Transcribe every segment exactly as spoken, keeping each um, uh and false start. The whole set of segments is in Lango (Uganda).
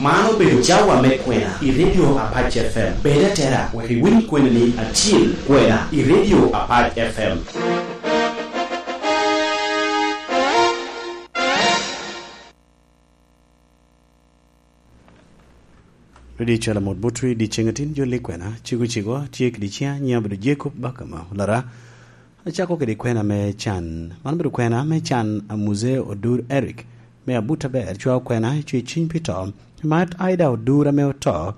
Man obedo cawa me kwena i Radio Apac F M. Bed atera wek iwiny kwenani acil, kwena i Radio Apac F M. Radio Cwalo Mot Botwi, dyeceŋ atin jolli kwena, cigo cigo, tye kede ciŋa, nyiŋa obedo Jacob Bakama Olara. Acako kede kwena me can. Man obedo kwena me can a Muzee Odur Eric, me Abuta Ber, cwao kwena, cwe cwiny pi to. Mat Aida Odur ame oto,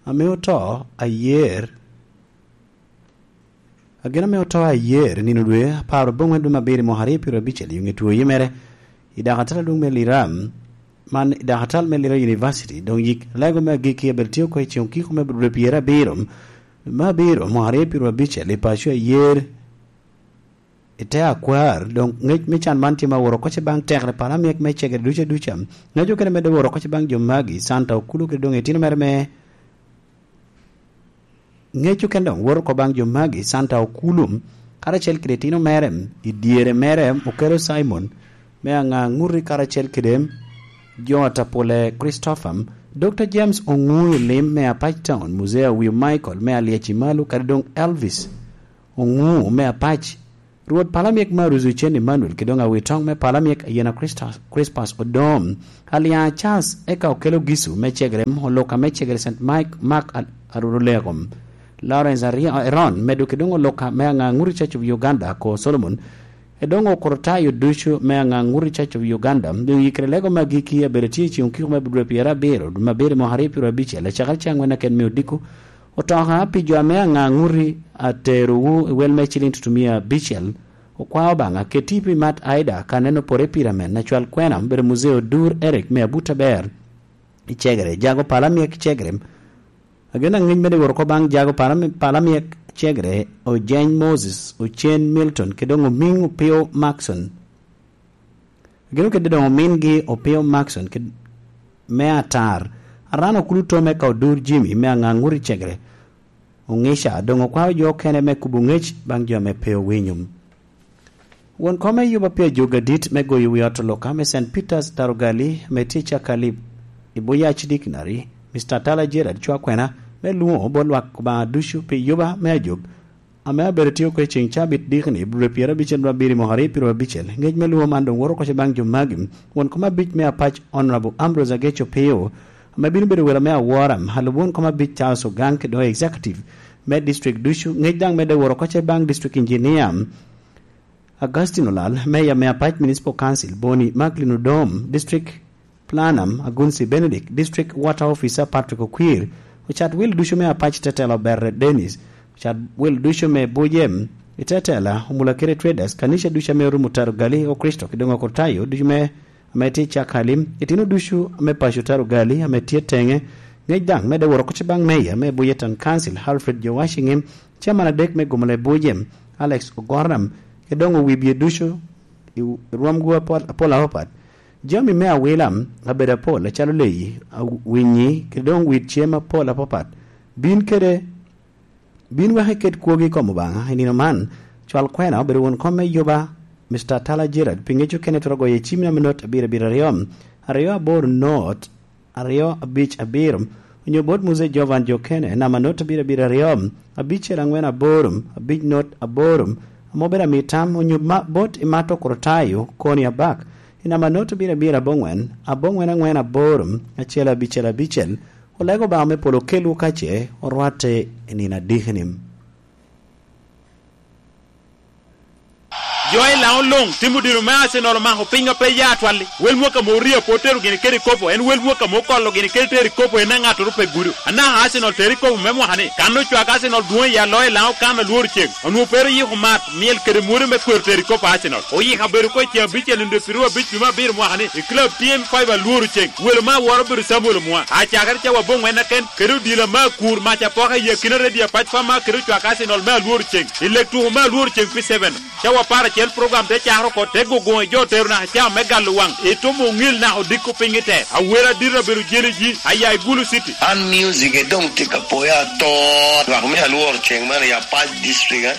ame oto ayer, agina ame oto ayer nino dwe apar aboŋwen dwe me abiro mwaka aryo pyero abicel, i ŋe two yee mere i dakatal adwoŋ me Lira, man i dakatal me Lira University, doŋ yik lego me agikki abed tye oko i ceŋ okiko me dwe pyero abiro, me abiro mwaka aryo pyero abicel i paco ayer. I te akwar, doŋ ŋec me can man tye ma woro oko ce baŋ tekere pala myek me cegere ducu aduca. Ŋec okene medde woro oko ce baŋ jo magi, Santa Okulu kede doŋ itino mere me ŋec okene doŋ woro oko baŋ jo magi, Santa Okulu, karacel kede itino mere, i dyere mere, Okelo Simon, me Aŋaŋuti karacel kede Jota Pule Christopher, Doctor James Oŋuu Lim me Apac Town, Muzee Awiu Michael me Alyec i Malu, kadi doŋ Elvis Oŋuu me Apac, Rwot Palamyek Marus Ocen Emmanuel, kede doŋ Awitoŋ me Palamyek Ayena Christus, Crispas Odom, Alyaŋ Charles, eka Okelo Gisu me Cegerem, Oluka me Cegere Saint Mike, Mark Al-, Aruruleko, Lawrence Ari-, Eron, medo kede doŋ Oluka me Aŋaŋuti Church of Uganda, ko Solomon, e doŋ Okorotayo ducu me Aŋaŋuti Church of Uganda. Doŋ yikere lego me agikki abedo tye i ceŋ okiko me dwe pyerabiro, dwe me abiro mwaka aryo pyerabicel, acakere caŋ wen aken me odiko, Otoka pi jo ame Aŋaŋuti aterowu i wel me ciliŋ tutumia abicel, okwao Obaŋa, keti pi Mat Aida ka neno pore pira men, acwal kwena, bedo Muzee Odur Eric me Abuta Ber i Cegere, jago pala myek Cegere. Agen aŋec mede woro oko baŋ jago pala, pala myek Cegere, Ojeny Moses, Ocen Milton, kede doŋ Omiŋ Opio Maxon. Gin okede doŋ omingi Opio Maxon ked-, me Atar, Aran Okulu Tome ka Odur Jimmy me Aŋaŋuti Cegere, Oŋica, doŋ okwao jo okene me kubo ŋec baŋ jo ame pe owinyo. Won kom me yuba pi ajogi adit me goyo wi ot Oluka me Saint Peter's Tarugali ame tye i Cakali i Buyac Dictionary, Mister Tala Gerald cwa kwena me lwoŋo bot lwak Obaŋa ducu pi yuba me ajog ame abedo tye oko i ceŋ cabit dikni, dwe pyerabicel dwe abiro mwaka aryo pyerabicel. Ŋec me lwongo man doŋ woto oko ce baŋ jo magi. Won kom abic me Apac, Honorable Ambrose Ageco Pio, ame bino bedo welo me awora, alub won kom abic Charles Ogang, kede doŋ executive me district ducu. Ŋec daŋ medde woro oko ce baŋ district engineer Augustine Olal, Mayor me Apac Municipal Council, Boni Macklin Odom, District Planner Agunsi Benedict, District Water Officer Patrick Okwir, ocat wil ducu me Apac Tetela Oberre Dennis, ocat wil ducu me Bujem i Tetela, Omulakere Traders, kanica ducu ame orumo Taro Gali o Kricito, kede doŋ Okritayo ducu me, ame tye i Cakali, itino ducu me paco Taro Gali ame tye teŋe. Ŋec daŋ medde woro oko ce baŋ Mayor me Buye Town Council, Alfred Jowashi Ŋim, Chairman adek me Gomolo i Bujem, Alex Ogoram, kede doŋ owibye ducu i rwomgu apol, apol apapat. Jami me awila abedo apol, acalo leyi, awinyi, kede doŋ wit cem apol apapat. Bin kede, bin wek iket kwogi i kom Obaŋa i nino man. Cwal kwena obedo won kom me yuba, Mister Tala Gerald, pi ŋec okene twero goyo i cim namba not abiro abiro aryo, aryo aboro not, aryo abic abiro, onyo bot Muzee Jovan Jokene, namba not abiro abiro aryo, abicel aŋwen aboro, abic not aboro, ame obedo amitam, onyo ma-, bot Imato Kurotayo, Koni Abak, i namba not abiro abiro aboŋwen, aboŋwen aŋwen aboro, acel abicel abicel, olego Obaŋa me polo okelwu ka ce orwatte i nino adikini. Jo i Laŋo luŋ, tim odiro me Arsenal omako piny ka pe ya atwalli. Wel mwaka ame orio pe otero gini kede ikopo, en wel mwaka ame okolo gini kede tero ikopo en aŋattoro pe gudo. Anaka Arsenal tero ikopo me mwaka ni, kan ocwak Arsenal dwoŋ i aloyo i Laŋo kan alworo ceŋ. Onwoŋo pe ero yiko mat, myel kede mwode me kwero tero ikopo Arsenal. Oyiko abedo oko i ceŋ abicel nino dwe piru abic dwe me abiro mwaka ni, i club T M five alworo ceŋ. Welo me awora obedo Samuel Omwa. Acakere cawa aboŋwen aken, kede odila me akur, mac apoka i akina redio apac pa ma kede ocwak Arsenal me alworo ceŋ. I lek tuko me alworo ceŋ pi seven. Cawa apar Cel program te cakere oko, te gogoŋ i jo otero naka cawa me galo waŋ, itumo oŋil naka odiko piny i te. Awera adito abedo jeli ji, aya i Gulu City. An music e doŋ tye ka poya atot. Lwak me alwor ceng man i Apac District, eh?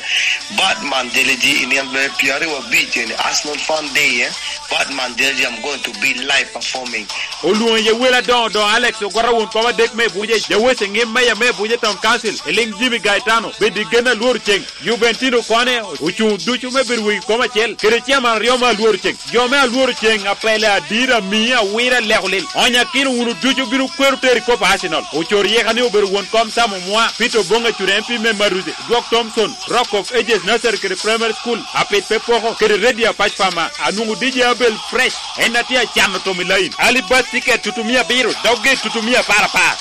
Batman Jeleji i nino me pyeraryo abic eni, Arsenal Fun Day, eh? Batman Jeleji, I'm going to be live performing. Olwoŋo iye wele adoŋo doŋo Alex Ogwata won kom adek me Ebuje, Jawece Ŋim Meya me Ebuje Town Council, Eliŋ Jimmy Gaetano, bed i gen alwor ceng. Jubentino kone ocuŋ ducu me bedo wegi kom acel, kede ciaman aryo me alwor ceng. Jo me alwor ceng, apele, adira, mia, awira, leko lil. Onyakino wunu ducu bino kwero tero i kop Arsenal. Ocor yeka ni obedo won kom Sam Omwa, Peter Oboŋ Acura M P me Maruze, Dwok Thompson, Rock of Ages Nursery kede Primary School, Apit pe poko, kede Radio Apac Pama, anwoŋo D J Abel Fresh, en a tye acano tom i lain. Ali bus ticket tutumia abiro, dogge tutumia apar apar.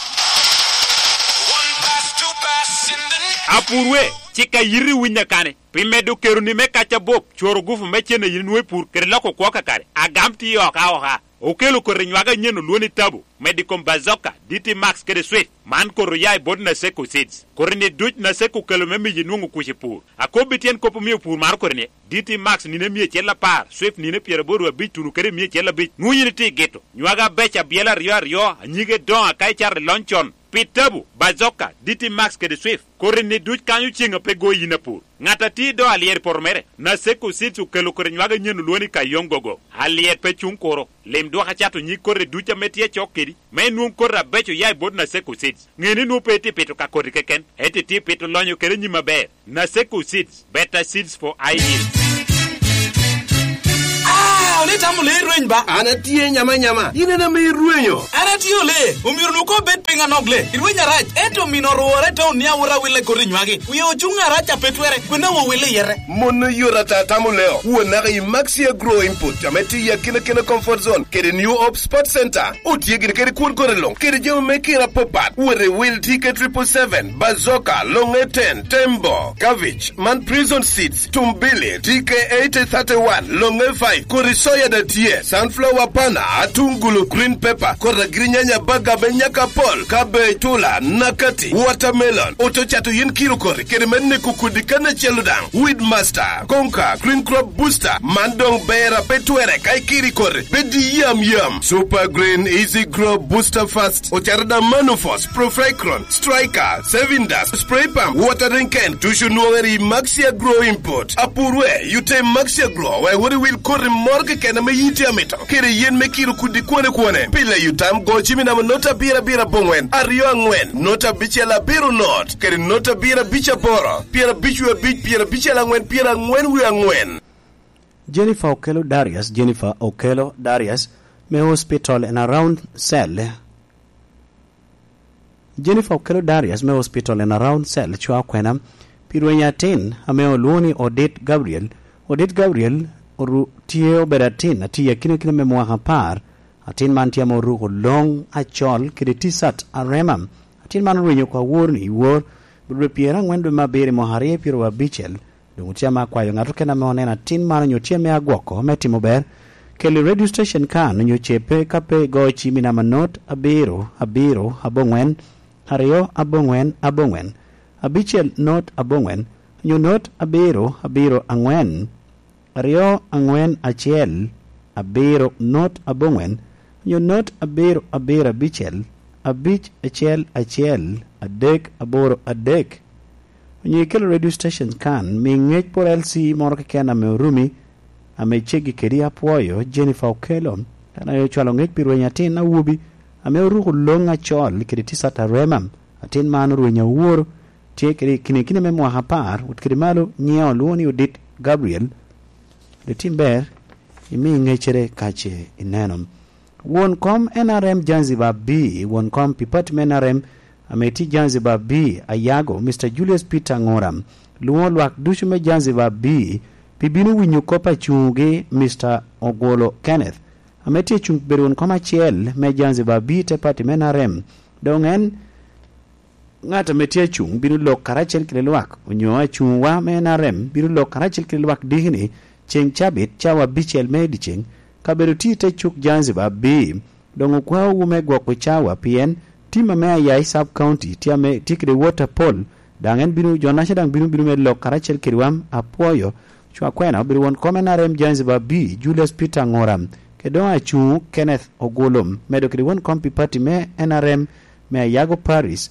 Apurwe, cik a yiti winya kane. Pi medo keroni me kac abop, cworo gufu me cen a yin nwoŋo i pur kede loko kwo kakare. Agam tye oka oka. Okelo koti nywage anyen olwoŋo ni Tabu, medo i kom Bazoka, D T Max kede Swift. Man koti oya i bot Naseko Seeds. Koti-ni duc Naseko okelo me miyi nwoŋo kuc i pur. Akobbi tyen kop omio pur maro koti-ni, D T Max nino emia acel apar, Swift nino pyeraboro abic tuno kede emia acel abic. Nwoŋo yin itye i gito. Nywage abeco abyela aryo aryo, anyige doŋo aka icato i lony con. Pi Tabu, Bazoka, D T Max kede Swift, koti-ni duc kanyo ceŋ a pe goyi yin apur. Ŋat a tye i do alyero i poto mere, Naseko Seeds okelo koti nywage anyen olwoŋo ni Kayong Gogo. Alyet pe cuŋ kuro. Lim dwok acato nyig koti duc ame tye acok kedi, me inwoŋ koti abeco oya i bot Naseko Seeds. Ŋe ni nwoŋo pe itye pito ka koti keken, ento itye pito lonyo kede nyim aber. Naseko Seeds, better seeds for high yield. Ah, oli tamo le rweny ba? An atye nyama nyama. In en ame irwenyo. An atye ole, omyero nu ko bed piny anok le. Irweny arac, ento mino orwore to ni awot awille koti nywagi. Wie ocuŋ arac a pe twere, kwena wo wille yere. Mon oyot ata tamo leo. Won naka i Maxi Agro Input, ame tye i akina kina comfort zone, kede New Hope Sports Center. Otye gini kede kwon kore luŋ, kede jami me kira apapat. Wot i wil T K triple seven, Bazoka, Longe ten, Tembo, Cabbage, man Prison Seeds, Tumbili, T K eighty thirty-one, Longe five, kodi soya da tye, sunflower pana, atungulu, green pepper, kodi agirinyanya, baga me nyaka pol, cabbage, tula, nakati, watermelon, oto cato yin kiro kodi, kede me neko kodi kan acel daŋ. Weedmaster, Konka, Green Crop Booster, man doŋ ber a pe twere ka ikiri koti, bed i yam yam. Super Green Easy Grow Booster Fast, ocaro da Manufos, Profecron, Striker, Saving Dust, Spray Pump, Watering Can, tucu nwoŋere i Maxi Agro Import. Apurwe, yute i Maxi Agro, wek wot iwil koti moro keken ame yiti amito, kede yen me kiro kudi kwone kwone. Pile yutam go cimi namo nota abiro abiro aboŋwen, aryo aŋwen, nota abicel abiro not, kede nota abiro abic aboro, pyerabic wie abic, pyerabicel aŋwen, pyeraŋwen wie aŋwen. Jennifer Okello Darius, Jennifer Okello Darius, me hospital and around cell. Jennifer Okello Darius me hospital and around cell cwao kwena pi rweny atin ame olwoŋo ni Odit Gabriel. Odit Gabriel oru-, tye obedo atin, atye i akina kina me mwaka apar. Atin man tye ame oruko loŋ acol kede ticat arema. Atin man orwenyo oko awor ni i wor, dwe pyeraŋwen dwe me abiro i mwaka aryo pyeraryo abicel. Doŋ otye ame akwayo ŋat okene ame oneno atin man onyo tye ame agwoko me timo ber, kel i radio station kan onyo cebe ka pe igoyo cim i namba not abiro abiro aboŋwen, aryo aboŋwen aboŋwen, abicel not aboŋwen, onyo not abiro abiro aŋwen, aryo aŋwen acel, abiro not aboŋwen, onyo not abiro abiro abicel, abic acel acel, adek aboro adek. Onyo ikelo radio stations kan, mi ŋec por L C moro keken ame orumi, ame ceggi kedi. Apwoyo Jennifer Okello, en aye ocwalo ŋec pi rweny atin awobi, ame oruko loŋ acol kede ticat arema. Atin man orweny awor, tye kede i kine kine me mwaka apar, wot kede malo, nyiŋe olwoŋo ni Odit Gabriel. Ri tim ber, imi ŋeccere ka ce ineno. Won kom N R M Zanzibar B, won kom pi pati me N R M ame tye Zanzibar B, Ayago, Mister Julius Peter Ngora, lwoŋo lwak ducu me Zanzibar B pi bino winyo kop acuŋgi, Mister Ogolo Kenneth, ame tye cuŋ bedo won kom acel me Zanzibar B te pati me N R M. Doŋ en ŋat ame tye acuŋ bino lok karacel kede lwak, onyo acuŋwa me N R M bino lok karacel kede lwak diki-ni ceŋ cabit cawa abicel me dyeceŋ, kabedo tye i te cuk Zanzibar B. Doŋ okwaowu me gwoko cawa, pien tim ame aya i Sub County tye ame tye kede wot apol, daŋ en bino, jo-naca daŋ bino, bino me lok karacel kedwa. Apwoyo Cwakwena obedo won kom N R M Jones Babi, Julius Peter Ngora, kede doŋ acuŋ Kenneth Ogulum, medo kede won kom pi pati me N R M me Ayago Paris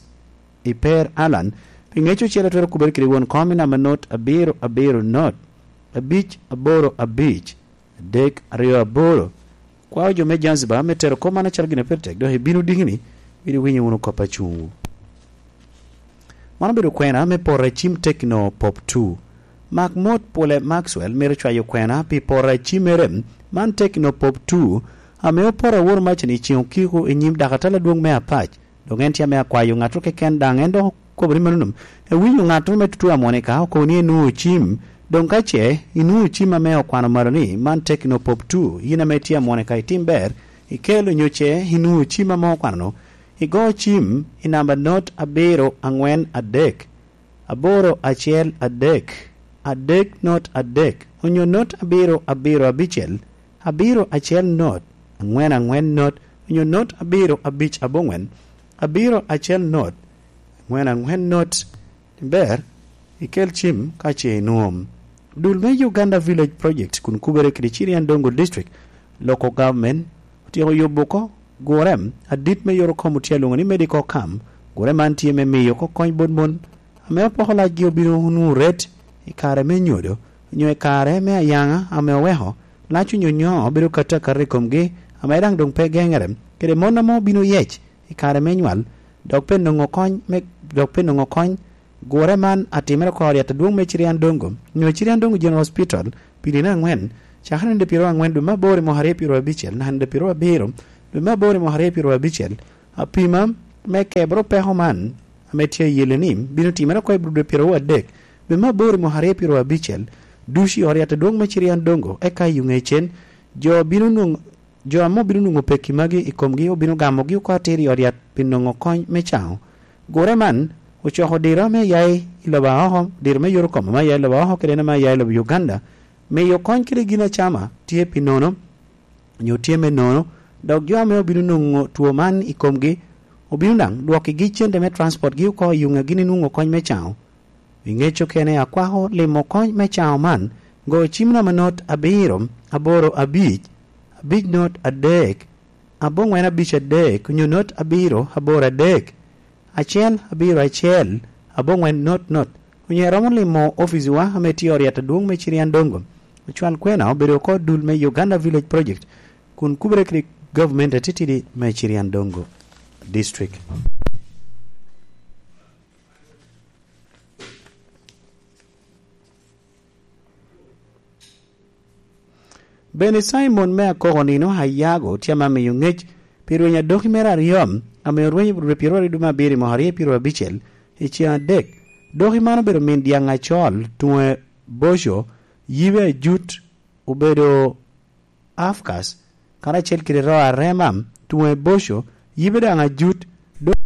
i Per Alan. Pi ŋec ocele twero kubere kede won kom i namba not abiro abiro not abic aboro abic adek aryo aboro. Kwao jo me Zanzibar me tero kop man acalo gin a pire tek, dok ibino dikini, bino winyo wunu kop acuŋwu. Man obedo kwena me poto a cim Tecno Pop two. Mak mot Pule Maxwell myero cwayo kwena pi poto a cimmere man Tecno Pop two, ame opoto aworo maca-ni i ceŋ okiko i nyim dakatala adwoŋ me Apac. Dok en tye ame akwayo ŋattoro keken daŋ, en dok okobo ni mano num. Ewinyo ŋattoro me tutu amwonika okobo ni enwoŋo cim. Doŋ ka ce inwoŋo cim ame okwano malo ni man Tecno Pop two, yin ame tye amwonika, itim ber, ikel onyo ce inwoŋo cim ame okwano-nu, igo cim i namba not abiro aŋwen adek, aboro acel adek, adek not adek, onyo not abiro abiro abicel, abiro acel not, aŋwen aŋwen not, onyo not abiro abic aboŋwen, abiro acel not, aŋwen aŋwen not. Ber, ikel cim ka ce inwoŋo. Dul me Uganda Village Project kun kubere kede Chiriandongo District, Local Government, otyeko yubo oko gure adit me yot okom otye alwoŋo ni Medical Camp. Gure man tye me miyo oko kony bot mon ame opoko lacgi obino onwoŋo ret i kare me nyodo, onyo i kare me ayaŋa ame oweko lac onyonyo obedo kato akata i komgi, ame daŋ doŋ pe geŋere, kede mon ame obino yec i kare me nywal, dok pe nwoŋo kony me, dok pe nwoŋo kony. Gure man atimere oko i ot yat adwoŋ me Chiriandongo, onyo Chiriandongo General Hospital, pi nino aŋwen, cakere nino pyeraryo aŋwen dwe me aboro i mwaka aryo pyeraryo abicel, naka nino pyeraryo abiro dwe me aboro i mwaka aryo pyeraryo abicel. Apima me kebere peko man, ame tye ayelle ni bino timere oko i dwe pyeraryo adek dwe me aboro i mwaka aryo pyeraryo abicel, ducu i ot yat adwoŋ me Chiriandongo, eka i ŋecen, jo bino nwoŋo, jo ame obino nwoŋo pekki magi i komgi obino gamogi oko atir i ot yat pi nwoŋo kony me caŋo. Gure man ocoko diro ame ya i lobo aoko, diro me yot okom ame ya i lobo aoko kede en ame ya i lobo Uganda, miyo kony kede gin acama tye pi nono, onyo tye me nono, dok jo ame obino nwoŋo two man i komgi obino daŋ dwokkigi cente me transportgi oko i yuŋ a gin inwoŋo kony me caŋo. I ŋec okene akwako limo kony me caŋo man, go cim namba not abiro aboro abic, abic not adek, aboŋwen abic adek, onyo not abiro aboro adek, acel abiro acel, aboŋwen not not, onyo iromo limo oficiwa ame tye i ot yat adwoŋ me Chiriandongo. Ocwal kwena obedo oko dul me Uganda Village Project, kun kubere kede gavumenti atitidi me Chiriandongo District. Bene Cimon me Akoko nino Ayago tye ame amiyo ŋec pi rweny adoki mere aryo, ame orwenyo i rweny pyeraryo dwe me abiro i mwaka aryo pyeraryo abicel i ceŋ adek. Doki man obedo min dyaŋ acol, tuŋe boco, yibe ajut obedo afkas, karacel kede roo arema, tuŋe boco, yibe daŋ ajut, dok